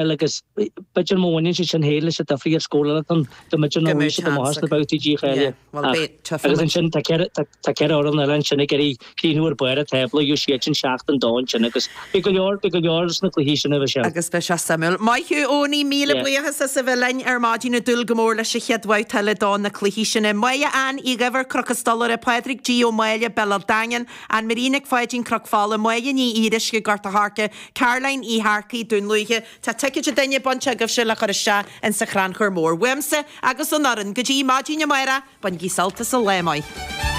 Agus b'fhéidir má bhaineann siad sin féin leis an difríocht scórála ann, go mb'fhéidir nach bhfuil siad amuigh as na babhtaí dícháilithe. Ach, agus ansin tá ceithre, tá ceithre fhoireann eile ansin ag iarraidh críochnú ar barr an tábla, gheobhaidh siad sin seachtain dó ansin agus beidh go leor, beidh go leor sna cluichí sin a bheidh sé. Agus beidh sé suimiúil. Maith thú, Eoiní, míle buíochas as a bheith linn ar maidin ag dúil go mór leis an chéad bhabhta eile do na cluichí sin. Máire Ann Uí Dhuibhir, Cnoc an Stolaire, Pádraig G. Ó Máille, Béal Átha Daingin, Ann Marie Nic Pháidín, Cnoc Fola, Máire Ní Fhíoruisce, Gort a' Choirce, Caroline Uí Shearcaigh, Dún Lúiche, Tá ticéid an duine bainte agaibhse le cur isteach insa chrannchur mór. Uaimse agus ón fhoireann, go dtí maidin amárach, bainigí sult as an lá maith.